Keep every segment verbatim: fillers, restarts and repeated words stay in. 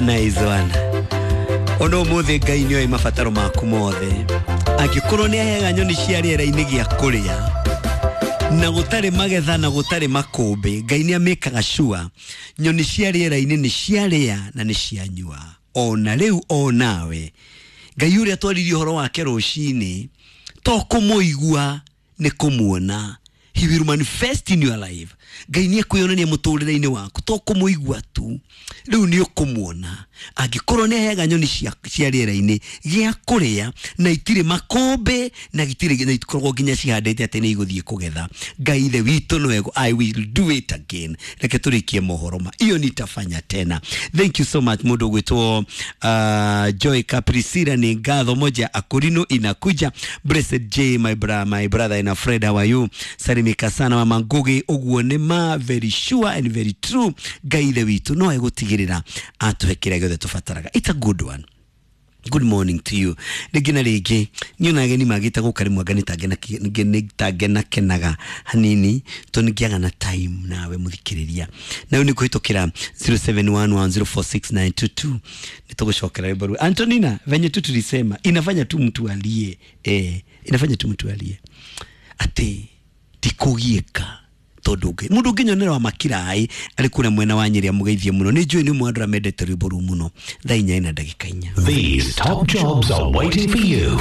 Nice one. Ona ũmũthĩ Ngai nĩoĩ mabataro maku mothe. Angĩkorwo nĩ aheaga nyoni cia rĩera-inĩ gĩa kũrĩa na gũtarĩ magetha na gũtarĩ makũmbĩ, Ngai nĩ amĩkaga sure nyoni cia rĩera-inĩ nĩ ciarĩa na nĩ cianyua. Ona rĩu o nawe Ngai ũrĩa twaririe ũhoro wake rũcinĩ to kũmũigua nĩ kũmuona. He will manifest in your life. Ngai nĩ ekwĩyonania mũtũrĩre-inĩ waku to kũmũigua tu, rĩu nĩ ũkũmuona. Angĩkorwo nĩ aheaga nyoni cia, cia rĩera-inĩ gĩa kũrĩa na itirĩ makũmbĩ na itirĩ na itikoragwo nginya cihandĩte atĩ nĩ igũthiĩ kũgetha, Ngai ithe witũ no ego, I will do it again. Reke tũrĩkie mohoro ma iyo nitafanya tena. Thank you so much mũndũ ũgwĩtwo uh, Joy Caprisira, nĩ ngatho moja akurino inakuja. Blessed J, my brother, my brother and a friend, how are you? Salimika sana mama Ngugi, ũguo nĩ ma, very sure and very true. Ngai ithe witũ no egũtigĩrĩra atũhe kĩrĩa gĩothe tũbataraga. It's a good one. Good morning to you. Rĩngĩ na rĩngĩ niona ageni magĩte gũka rĩmwe anga nĩtangenakenaga hanini tondũ nĩngĩaga na time nawe mũthikĩrĩria. Na rĩu nĩ kũhĩtũkĩra zero seven one one zero four six nine two two nĩtũgũcokera rwĩmbo rũu. Antonina, venye tu tulisema inafanya tu mtu alie, eh, inafanya tu mtu alie atĩ tikũgiĩka tondu ngai mundu nginyonera wa makirai ari kuria mwena wa Nyeri amugeithie muno ni njui ni umwe andũ arĩa mendete rwĩmbo rũu mũno. Thaa inya ina ndagĩka inya. These top jobs are waiting for you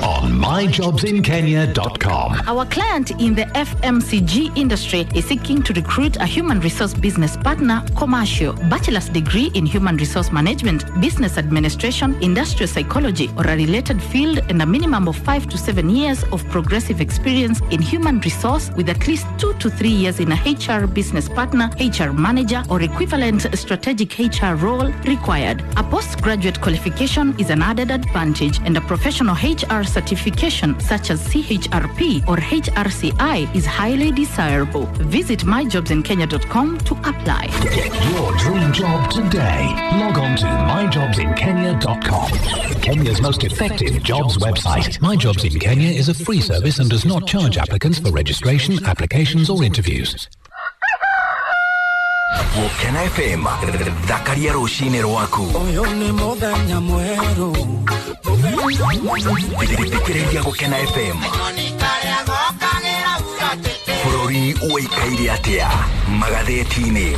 on my jobs in kenya dot com. Our client in the F M C G industry is seeking to recruit a human resource business partner, commercial, bachelor's degree in human resource management, business administration, industrial psychology, or a related field, and a minimum of five to seven years of progressive experience in human resource with at least two to three years in a H R business partner, H R manager, or equivalent strategic H R role required. A postgraduate qualification is an added advantage, and a professional H R certification such as C H R P or H R C I is highly desirable. Visit my jobs in kenya dot com to apply. Get your dream job today. Log on to my jobs in kenya dot com. Kenya's most effective jobs website. My Jobs in Kenya is a free service and does not charge applicants for registration, applications or interviews. Gũkena F M, thakaria rũcinĩ rwaku. Ũyũ nĩ mũthenya mwerũ. Thikĩrĩria Gũkena F M. Bũrũri ũikaire atĩa magathĩti-inĩ?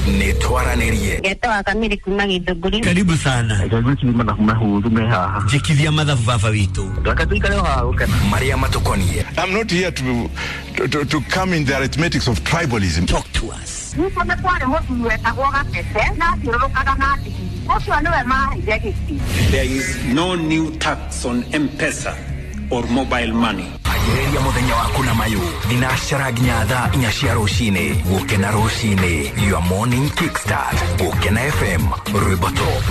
Nĩ twaranĩrie. Ngetwa Kamiri kuma Githũngũri. Karibu sana. Njikithia mathabu baba witũ. Reke tuikare o haha gũkena. Marĩa matũkoniĩ. I'm not here to, to, to, to come in the arithmetics of tribalism. Talk to us. Nĩkuo nĩ kwarĩ mũthuri wetagwo Gatete na athiũrũrũkaga na ndigiri. Ũcio nĩwe maheire gĩtĩ. There is no new tax on M-Pesa or mobile money. Anjĩrĩria mũthenya waku na mayũ thinacara nginya thaa inya cia rũcinĩ. Gũkena rũcinĩ, your morning kickstart. Gũkena F M, rwĩmbo top.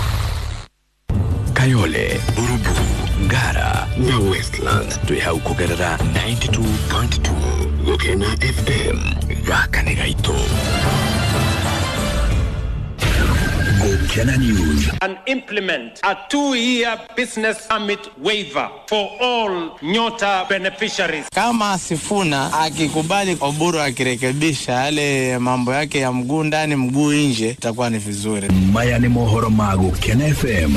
Kayole, Burubu, Ngara na Westlands twĩ hau kũgerera ninety-two point two Gũkena F M. Gaka nĩ gaitũ. Gũkena News. And implement a two-year business permit waiver for all Nyota beneficiaries. Kama Sifuna akikubali Oburu akirekebisha yale mambo yake ya mguu ndani mguu nje, itakuwa ni vizuri. Maya ni mohoro ma Gũkena F M.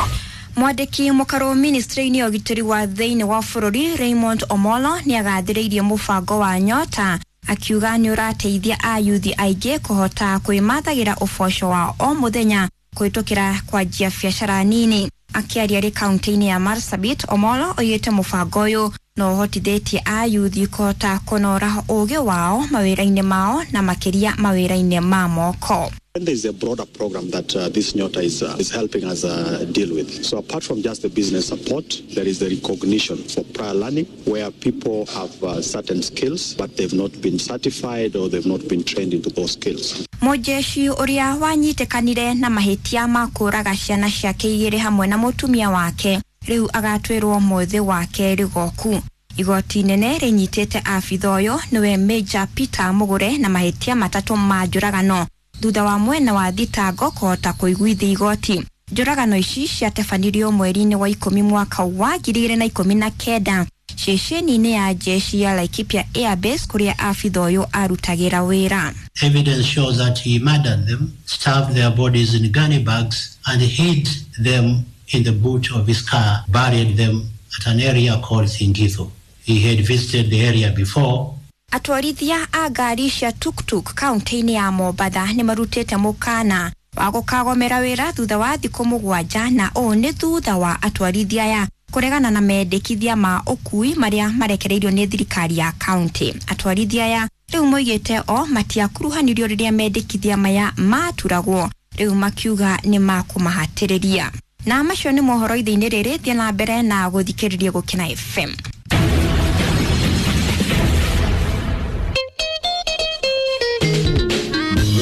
Mwandĩki mũkarũ ministry-inĩ ya ũgitĩri wa thĩinĩ wa bũrũri Raymond Omolo nĩagathĩrĩirie mũbango wa Nyota akiuga nĩ ũrateithia ayuthi aingĩ kũhota kwĩmathagĩra ũboco wa o mũthenya kũhĩtũkĩra kwanjia biacara nini. Akĩaria arĩ kaunti-inĩ ya Marsabit, Omolo oigĩte mũbango ũyũ no ũhotithĩtie ayuthi kũhota kũnora ũgĩ wao mawĩra-inĩ mao na makĩria mawĩra-inĩ ma moko. And there is a broader program that, uh, this Nyota is, uh, is helping us, uh, deal with. So apart from just the business support, there is the recognition for prior learning where people have, uh, certain skills but they've not been certified or they've not been trained into those skills. Mũjeshi ũrĩa wanyitĩkanire na mahĩtia ma kũũraga ciana ciake igĩrĩ hamwe na mũtumia wake rĩu agatwĩrwo mũthĩ wa kerĩ goku. Igoti inene rĩnyitĩte abitha ũyũ nĩwe Major Peter Mugure na mahĩtia matatũ ma njũragano thutha wa mwena wa thitango kũhota kũiguithia igoti. Njũragano ici ciatabanirio mweri-inĩ wa ikũmi mwaka wa ngiri igĩrĩ na ikũmi na kenda ceceni-inĩ ya jeshi ya Laikipia Airbase kũrĩa abitha ũyũ arutagĩra wĩra. Evidence shows that he murdered them, stuffed their bodies in gunny bags, and hid them in the boot of his car, buried them at an area called Singitho. He had visited the area before. Atwarithia a ngari cia tuktuk kaunti-inĩ ya Mombatha nĩ marutĩte mũkana wa gũkagomera wĩra thutha wa thikũ mũgwanja, na ũũ nĩ thutha wa atwarithia aya kũregana na mendekithia ma ũkui marĩa marekereirio nĩ thirikari ya kaunti. Atwarithia aya rĩu moigĩte o matiakuruhanirio rĩrĩa mendekithia maya maturagwo, rĩu makiuga nĩ makũmahatĩrĩria. Na macio nĩ mohoro ithe-inĩ rĩrĩ, thiĩ na mbere na gũthikĩrĩria Gũkena F M.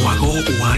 Mwago wa